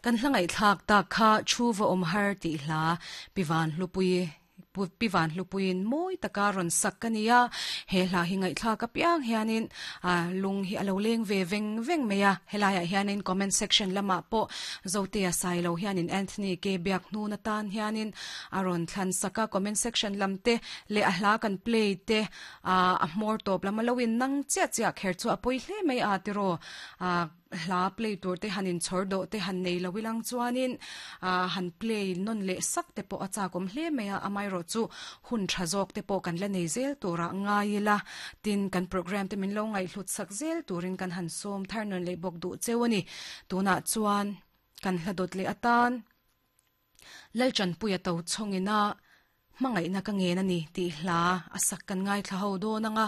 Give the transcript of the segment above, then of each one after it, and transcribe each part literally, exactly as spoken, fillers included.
Kan hlangai thlak ta kha thu va om har ti hla pivan hlupui pivan hlupuin moi taka ron sak kania he hla hi ngai thla ka piang hianin a lung hi alo leng ve veng veng meya helaya hianin comment section lama po zotea sailo hianin Anthony ke biak nu na tan hianin aron thlan saka comment section lamte le a hla kan play te a a hmor top lama loin nang chia chia kher chu apoi hle mai a tiro a hla play tur te hanin chhor do te han nei lowilang chuanin a han play non le sak te po acha kom hle meya amai ro chu hun thazok te po kan la nei zel tura ngaila tin kan program te min lo ngai hlut sak zel turin kan han som thar non le bok du chewani tuna chuan kan hladot le atan lalchan puya to chongina mangai na ka nge na ni ti hla asak kan ngai thla ho do na nga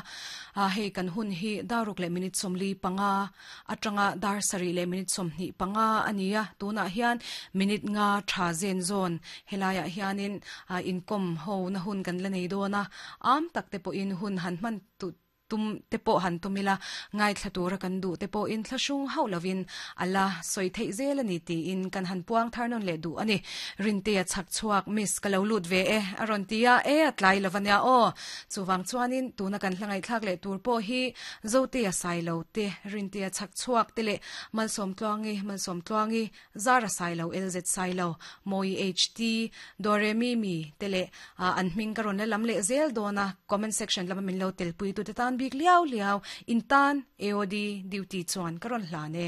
a hei kan hun hi daruk le minute somli panga atanga dar sari le minute somni panga ania tuna hian minute nga tha zen zone helaya hianin inkom ho na hun kan la nei do na am tak te po in hun han man tu tum te po han tumila ngai thlatura kan du te po in thlashung haulovin ala soi thei zel ani ti in kan han puang tharnon le du ani rinte a chak chuak miss kalo lut ve e aron tia e atlai lovania o chuwang chuanin tuna kan hlangai thlak le tur po hi zote a sailo te rinte a chak chuak te le malsom tluangi malsom tluangi zara sailo lz sailo moi ht doremi mi te le an hming karon le lam le zel dona comment section lama min lo tel pui tu te tan bik liao liao in tan A O D duty chuan karon hlane.